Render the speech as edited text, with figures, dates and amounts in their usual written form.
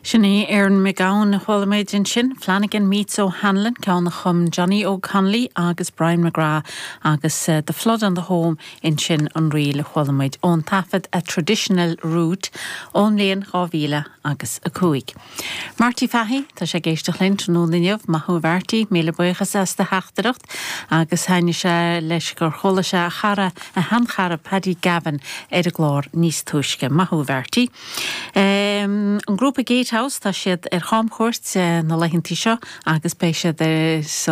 Sin í Erin McGowan a chuala muid ansin, Flanagan Meets O'Hanlon, ceann a chum Johnny Óg Connolly agus Brian McGrath agus The Flood on the Home ansin an ríl a chuala muid ón taifead A Traditional Route ón mbliain 2000 agus 5. Marty Fahey, tá sé ag éisteacht linn tráthnóna inniu, maith thú a Mharty, míle buíochas as do theachtaireacht agus thaitnigh sé leis gur chuala sé a chara, a sheanchara Paddy Gavin ar an gclár níos túisce. Maith thú a Mharty. An grúpa Gatehouse, tá siad ar chamchuairt na laethantaí seo agus beidh siad ar.